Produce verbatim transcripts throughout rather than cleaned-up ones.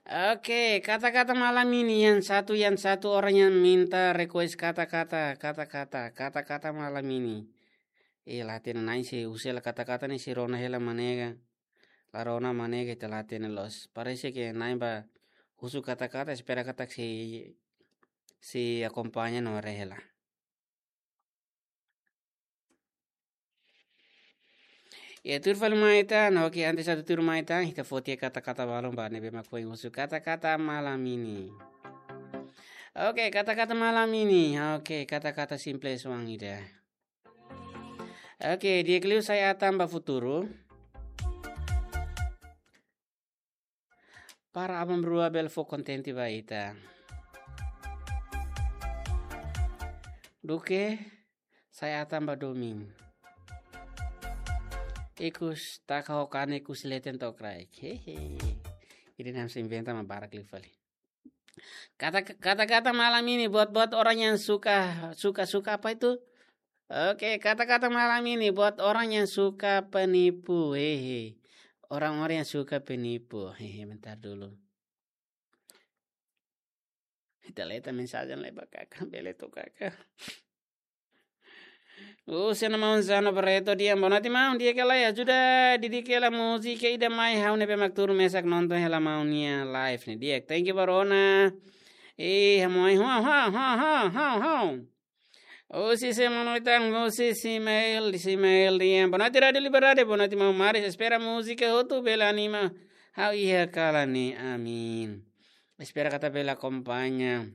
Oke, kata-kata malam ini yang satu, yang satu orang yang minta request kata-kata, kata-kata, kata-kata malam ini. Eh, la hatene na'in sei husu hela kata-kata ne'e sei rona hela manega. La rona manega ita la hatene loos. Parese ke na'in bá husu kata-kata, espera katak sei, sei akompaña no haree hela. Ya, tuir fali mai tan, oke, antes atu tuir mai tan, ita foti kata-kata balun ba ne'ebé mak foin husu kata-kata malam ini. Oke, kata-kata malam ini. Oke, kata-kata simples oan ida. Oke, di'ak liu sa'e an tan ba futuru. Para aban-bainrua bele fó kontente ba ita. Duké sa'e an tan ba domin. Ikus taka ho kane ikus leten to'o kraik. Hehe. Ida-ne'e ha'u inventa mak barak liu fali. Kata, kata-kata malam ini buat-buat orang yang suka, suka, suka apa itu? Oke, kata-kata malam ini buat orang yang suka penipu. Hehe. Orang-orang yang suka penipu. Hehe, bentar dulu. Ita leta mensajen lai ba kaka, bele to'o kaka. Husu ona maun Zano Barreto dehan, boa noite maun, di'ak ka lae, ajuda didik hela múzika ida mai, ha'u ne'ebé mak tuur mesak nonton hela maun nia live ne'e di'ak. Thank you ba rona. Eh, ha'u mai, ha'u, ha'u, ha'u, ha'u, ha'u, ha'u. Husi sé mak mai tan, husi Simael, Simael dehan, boa noite Rádio Liberdade, boa noite maun Maris, espera múzika hotu bele anima ha'u iha kalan ne'e, amin. Espera katak bele akompaña.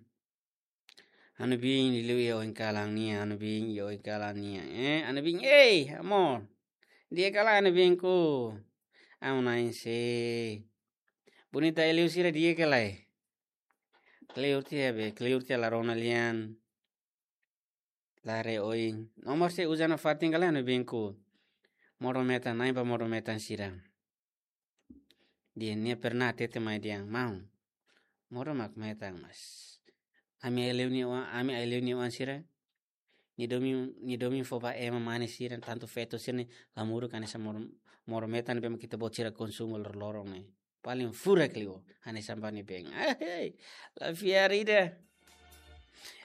Ha'u-nia biin liuliu iha oin kalan nian, ha'u-nia biin iha oin kalan nian. Eh, ha'u-nia biin, ei, amor. Di'ak ka lae ha'u-nia biinku. Ha'u na'in sei. Bonita liu sira di'ak ka lae. Kleur tiha be, kleur tiha la rona lian. La haree oin. Nomor sei uza nafatin ka lae ha'u-nia biinku. Modo metan, na'in ba modo metan sira. Dehan nia pernah hatete mai dehan, maun. Modo mak metan mas. Ami ai-liu nia oan, ami ai-liu nia oan sira. Nia domin, nia domin fó ba ema mane sira, tantu feto sira ne'e, la muru hanesan modo, modo metan be mak ita-boot sira konsumu loroloron ne'e. Paling furak liu, hanesan ba nia been. Ahei, la fiar ida.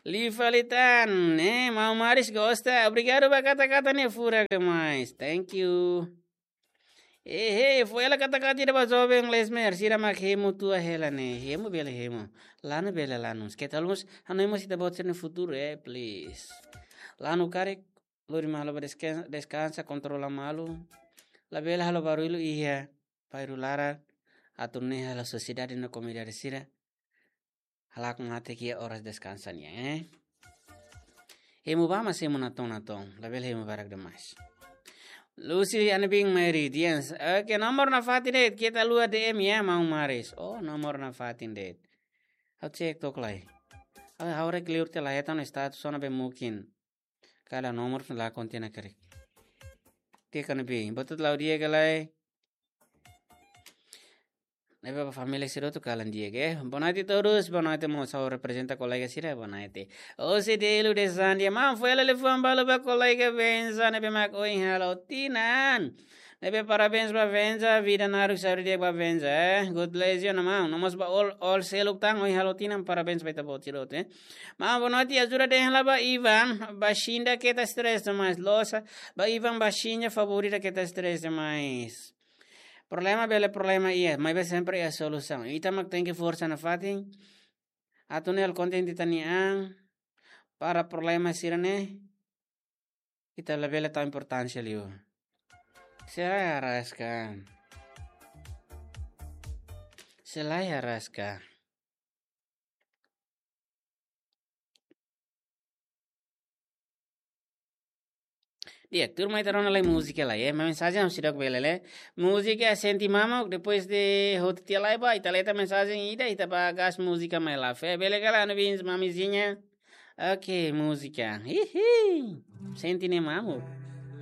Liu fali tan, eh, maun Maris gosta. Obrigadu ba kata-kata ne'e furak demais. Thank you. Eh, eh, fó hela kata-kata ida ba joven Lesmer, sira mak hemu tua hela ne'e, hemu bele hemu. Lanu bele lanu. Keta lus, hanoin mós ita-boot sira-nia futuru, eh, please. Lanu karik, lori malu ba deskan-, deskansa, kontrola malu. Labele halo barullu iha bairru laran, atu nune'e halo sosiedade no komunidade sira halakon aat iha oras deskansa nian, eh. Hemu bá mas hemu natoon-natoon, labele hemu barak demais. Lucy ha'u-nia biin Mary Dians. Oke, nomor nafatin de'it, keta haluha D M ya, maun Maris. Oh, nomor nafatin de'it. Ha'u cek took lai. Ha'u, ha'u haree kleur tiha la hetan status ona be mungkin. Kalan nomor fun la kontina karik. Di'ak ka lae ha'u-nia biin. Boa tarde, Laudia ka lae. Ne'ebé ba família sira hotu kalan di'ak, eh. Boa noite todos, boa noite mós ha'u reprezenta kolega sira, boa noite. Husi Delu de Sandia, maun fó hela liafuan balu ba kolega Benza, ne'ebé mak ohin halo tinan. Ne'ebé parabéns ba Benza, vida naruk saúde di'ak ba Benza, eh. God bless you, maun. No mós ba all, all seluk tan, ohin halo tinan, parabéns ba ita-boot sira hotu, eh. Maun, boa noite, ajuda dehan hela ba Ivan, ba Xinda keta stress demais, loos, ba Ivan, ba Xinda favor ida keta stress demais. Problema bele problema iha, maibé sempre iha solusaun. Ita mak tenke forsa nafatin. Atu nune'e halo kontente ita-nia an, para problema sira-ne'e ita labele tau importánsia liu. Sei la iha rasik. Sei la iha rasik. Di'ak, tuur mai ita rona lai múzika lai, eh. Mensajen ha'u seidauk bele lee. Múzika sente mamuk, depois de hotu tiha lai ba, ita lee tan mensajen ida, ita bá gas múzika mai la. Fé, bele ka lae, ha'u-nia biin Mamizinha. Oke, múzika. Hihi. Sente ne'e mamuk.